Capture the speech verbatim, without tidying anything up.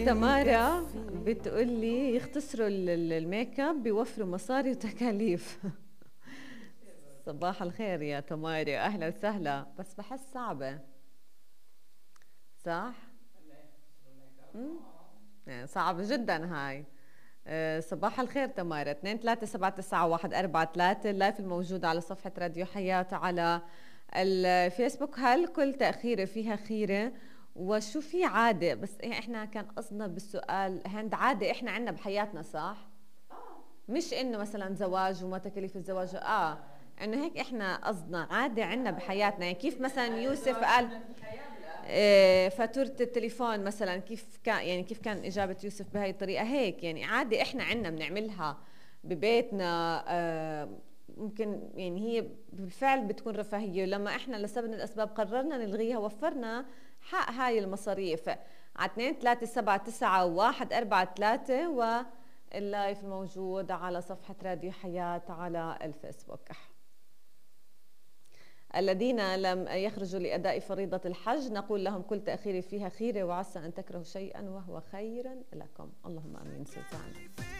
تمارا بتقول لي يختصروا الميك اب بيوفروا مصاري وتكاليف. صباح الخير يا تمارا، اهلا وسهلا. بس بحس صعبة، صح؟ يعني صعبة جدا هاي. أه صباح الخير تمارا. اثنين ثلاثة سبعة تسعة واحد أربعة ثلاثة اللايف الموجود على صفحة راديو حياة على الفيسبوك. هل كل تأخيرة فيها خيرة؟ وشو في عادة؟ بس احنا كان قصدنا بالسؤال هند عادة احنا عنا بحياتنا، صح؟ مش انه مثلا زواج وما تكاليف الزواج، اه انه هيك احنا قصدنا عادة عنا بحياتنا. يعني كيف مثلا يوسف قال إيه فاتورة التليفون مثلا، كيف كان يعني كيف كان إجابة يوسف بهاي الطريقة؟ هيك يعني عادة إحنا عنا بنعملها ببيتنا. آه ممكن يعني هي بالفعل بتكون رفاهية، ولما إحنا لسبب من الأسباب قررنا نلغيها وفرنا حق هاي المصاريف. على اثنين ثلاثة سبعة تسعة واحد أربعة ثلاثة واللايف موجود على صفحة راديو حياة على الفيسبوك. الذين لم يخرجوا لأداء فريضة الحج نقول لهم كل تأخير فيها خيرة، وعسى أن تكرهوا شيئا وهو خير لكم. اللهم آمين سلطان.